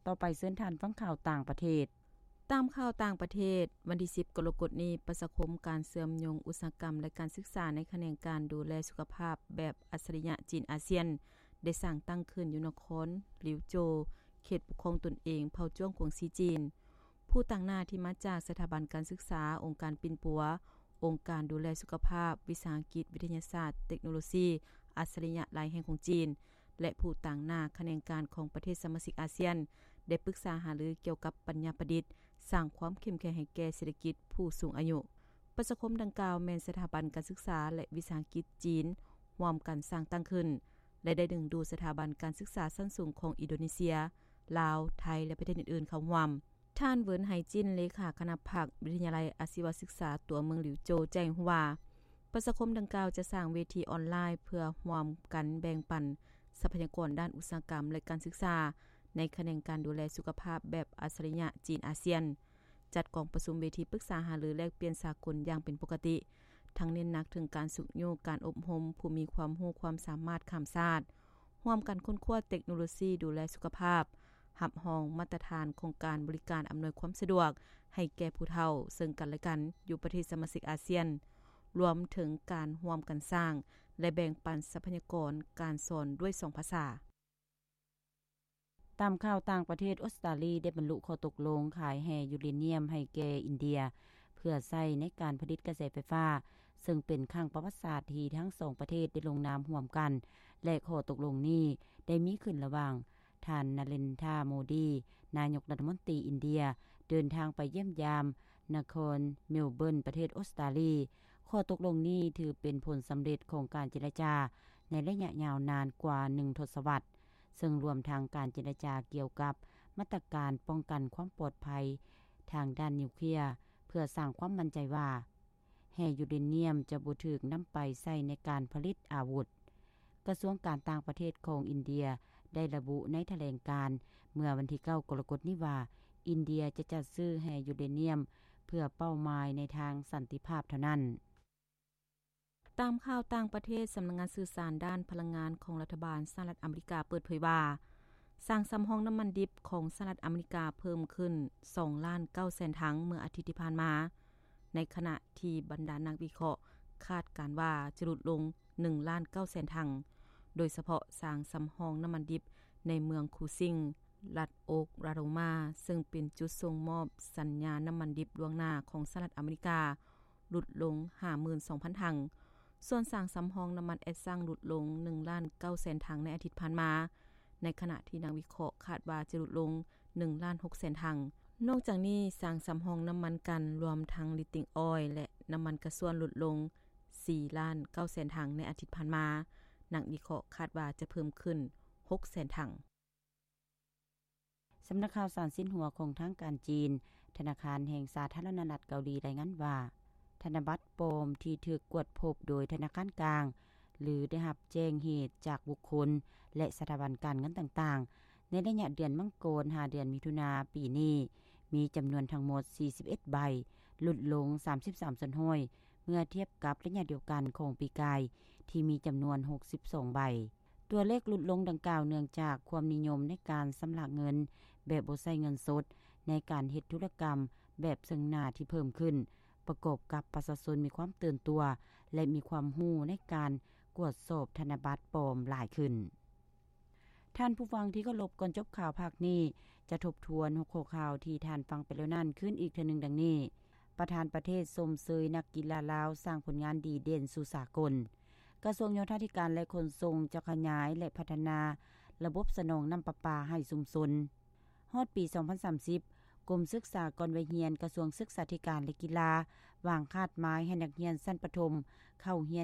ຕໍ່ໄປເຊີນທ່ານຟັງຂ່າວຕ່າງປະເທດ. ຕາມຂ່າວຕ່າງປະເທດ, ວັນທີສິບ ກໍລະກົດນີ້, ປະຊາຄົມການເຊື່ອມໂຍງອຸດສາຫະກຳ ແລະ ການສຶກສາໃນຂະແໜງການດູແລສຸຂະພາບແບບອັດສະລິຍະຈີນອາຊຽນ ໄດ້ສ້າງຕັ້ງຂຶ້ນຢູ່ນະຄອນລິວໂຈວ, ເຂດປົກຄອງຕົນເອງເຜົ່າຈ້ວງກວາງຊີຈີນ. ຜູ້ຕາງໜ້າທີ່ມາຈາກສະຖາບັນການສຶກສາ, ອົງການປິ່ນປົວ, ອົງການດູແລສຸຂະພາບ, ວິສາຫະກິດ, ວິທະຍາສາດ, ເຕັກໂນໂລຊີ, ອັດສະລິຍະຫຼາຍແຫ່ງຂອງຈີນ ແລະ ຜູ້ຕາງໜ້າຂະແໜງການຂອງປະເທດສະມາຊິກອາຊຽນ ໄດ້ປຶກສາຫາລືກ່ຽວກັບປັນຍາປະດິດ ສ້າງຄວາມເຂັ້ມແຂງໃຫ້ແກ່ເສດຖະກິດຜູ້ສູງອາຍຸ. ປະຊາຄົມດັ່ງກ່າວແມ່ນສະຖາບັນການສຶກສາ ແລະ ວິສາຫະກິດຈີນຮ່ວມກັນສ້າງຕັ້ງຂຶ້ນ ແລະ ໄດ້ດຶງດູດສະຖາບັນການສຶກສາຊັ້ນສູງຂອງອິນໂດເນເຊຍ, ລາວ, ໄທ ແລະ ປະເທດອື່ນໆເຂົ້າຮ່ວມ. ທ່ານ ເຫວິນ ໄຫຈິນ ເລຂາຄະນະພັກວິທະຍາໄລອາຊີວະສຶກສາຕົວເມືອງລິວໂຈວ ແຈ້ງຮູ້ວ່າ ປະຊາຄົມດັ່ງກ່າວຈະສ້າງເວທີອອນລາຍເພື່ອຮ່ວມກັນແບ່ງປັນຊັບພະຍາກອນດ້ານອຸດສາຫະກຳ ແລະ ການສຶກສາໃນຂະແໜງການດູແລສຸຂະພາບແບບອັດສະລິຍະຈີນອາຊຽນ, ຈັດກອງປະຊຸມເວທີປຶກສາຫາລືແລກປ່ຽນສາກົນຢ່າງເປັນປົກກະຕິ, ທັງເນັ້ນໜັກເຖິງການຊຸກຍູ້ການອົບຮົມຜູ້ມີຄວາມຮູ້ຄວາມສາມາດຂ້າມຊາດ, ຮ່ວມກັນຄົ້ນຄວ້າເຕັກໂນໂລຊີດູແລສຸຂະພາບ, ຮັບຮອງມາດຕະຖານຂອງການບໍລິການອຳນວຍຄວາມສະດວກໃຫ້ແກ່ຜູ້ເຖົ້າເຊິ່ງກັນແລະກັນຢູ່ປະເທດສະມາຊິກອາຊຽນ, ລວມເຖິງການຮ່ວມກັນສ້າງ ແລະ ແບ່ງປັນຊັບພະຍາກອນການສອນດ້ວຍສອງພາສາ. ຕາມຂ່າວຕ່າງປະເທດ, ອົດສະຕາລີໄດ້ບັນລຸຂໍ້ຕົກລົງຂາຍແຮ່ຢູເຣນຽມໃຫ້ແກ່ອິນເດຍ ເພື່ອໃຊ້ໃນການຜະລິດກະແສໄຟຟ້າ, ເຊິ່ງເປັນຄັ້ງປະຫວັດສາດທີ່ທັງສອງປະເທດໄດ້ລົງນາມຮ່ວມກັນ ແລະ ຂໍ້ຕົກລົງນີ້ໄດ້ມີຂຶ້ນລະຫວ່າງທ່ານ ນາເຣນທາ ໂມດີ ນາຍົກລັດຖະມົນຕີອິນເດຍ ເດີນທາງໄປຢ້ຽມຢາມນະຄອນເມລເບີນ ປະເທດອົດສະຕາລີ. ຂໍ້ຕົກລົງນີ້ຖືເປັນຜົນສຳເລັດຂອງການເຈລະຈາໃນໄລຍະຍາວນານກວ່າໜຶ່ງທົດສະວັດ, ເຊິ່ງລວມທັງການເຈລະຈາກ່ຽວກັບມາດຕະການປ້ອງກັນຄວາມປອດໄພທາງດ້ານນິວເຄລຍ ເພື່ອສ້າງຄວາມໝັ້ນໃຈວ່າ ແຮ່ຢູເຣນຽມຈະບໍ່ຖືກນຳໄປໃຊ້ໃນການຜະລິດອາວຸດ. ກະຊວງການຕ່າງປະເທດຂອງອິນເດຍໄດ້ລະບຸໃນຖະແຫຼງການເມື່ອວັນທີເກົ້າ ກໍລະກົດນີ້ວ່າ ອິນເດຍຈະຈັດຊື້ແຮ່ຢູເຣນຽມເພື່ອເປົ້າໝາຍໃນທາງສັນຕິພາບເທົ່ານັ້ນ. ຕາມຂ່າວຕ່າງປະເທດ, ສຳນັກງານສື່ສານດ້ານພະລັງງານຂອງລັດຖະບານສະຫະລັດອາເມລິກາເປີດເຜີຍວ່າ ສາງສຳຮອງນ້ຳມັນດິບຂອງສະຫະລັດອາເມລິກາເພີ່ມຂຶ້ນສອງລ້ານເກົ້າແສນຖັງເມື່ອອາທິດທີ່ຜ່ານມາ, ໃນຂະນະທີ່ບັນດານັກວິເຄາະຄາດການວ່າຈະຫຼຸດລົງໜຶ່ງລ້ານເກົ້າແສນຖັງ, ໂດຍສະເພາະສາງສຳຮອງນ້ຳມັນດິບໃນເມືອງຄູຊິງ ລັດໂອກລາໂຮມາ ເຊິ່ງເປັນຈຸດສົ່ງມອບສັນຍານ້ຳມັນດິບລ່ວງໜ້າຂອງສະຫະລັດອາເມລິກາ ຫຼຸດລົງຫ້າໝື່ນສອງພັນຖັງ, ສ່ວນສາງສຳຮອງນ້ຳມັນແອັດຊັງຫຼຸດລົງໜຶ່ງລ້ານເກົ້າແສນຖັງໃນອາທິດຜ່ານມາ, ໃນຂະນະທີ່ນັກວິເຄາະຄາດວ່າຈະຫຼຸດລົງໜຶ່ງລ້ານຫົກແສນຖັງ. ນອກຈາກນີ້, ສາງສຳຮອງນ້ຳມັນກັນ ລວມທັງລິດຕິງອອຍ ແລະ ນ້ຳມັນກະຊວນຫຼຸດລົງສີ່ລ້ານເກົ້າແສນຖັງໃນອາທິດຜ່ານມາ, ນັກວິເຄາະຄາດວ່າຈະເພີ່ມຂຶ້ນຫົກແສນຖັງ. ສຳນັກຂ່າວສານຊິນຫົວຂອງທາງການຈີນ, ທະນາຄານແຫ່ງສາທາລະນະລັດເກົາຫຼີ ລາຍງານວ່າ ທະນະບັດປອມທີ່ຖືກກວດພົບໂດຍທະນາຄານກາງ ຫຼື ໄດ້ຮັບແຈ້ງເຫດຈາກບຸກຄົນ ແລະ ສະຖາບັນການເງິນຕ່າງໆ ໃນໄລຍະເດືອນມັງກອນ ຫາ ເດືອນມິຖຸນາປີນີ້ ມີຈຳນວນທັງໝົດສີ່ສິບເອັດໃບ, ຫຼຸດລົງສາມສິບສາມສ່ວນຮ້ອຍ ເມື່ອທຽບກັບໄລຍະດຽວກັນຂອງປີກາຍ ທີ່ມີຈຳນວນຫົກສິບສອງໃບ. ຕົວເລກຫຼຸດລົງດັ່ງກ່າວເນື່ອງຈາກຄວາມນິຍົມໃນການຊຳລະເງິນແບບບໍ່ໃຊ້ເງິນສົດ ໃນການເຮັດທຸລະກຳແບບເຊິ່ງໜ້າທີ່ເພີ່ມຂຶ້ນ, ປະກອບກັບປະຊາຊົນມີຄວາມຕື່ນຕົວ ແລະ ມີຄວາມຮູ້ໃນການກວດສອບທະນະບັດປອມຫຼາຍຂຶ້ນ. ທ່ານຜູ້ຟັງທີ່ເຄົາລົບ, ກ່ອນຈົບຂ່າວພາກນີ້ ຈະທົບທວນຫົວຂໍ້ຂ່າວທີ່ທ່ານຟັງໄປແລ້ວນັ້ນຄືນອີກເທື່ອໜຶ່ງ ດັ່ງນີ້: ປະທານປະເທດຊົມເຊີຍນັກກິລາລາວສ້າງຜົນງານດີເດັ່ນສູ່ສາກົນ. ກະຊວງໂຍທາທິການ ແລະ ຂົນສົ່ງ ຈະຂະຫຍາຍ ແລະ ພັດທະນາລະບົບສະໜອງນ້ຳປະປາໃຫ້ຊຸມຊົນ. ຮອດປີສອງພັນສາມສິບ, ກົມສຶກສາກ່ອນໄວຮຽນ ກະຊວງສຶກສາທິການ ແລະ ກິລາ ວາງຄາດໝາຍໃຫ້ນັກຮຽນຊັ້ນປະຖົມເຂົ້າຮຽນ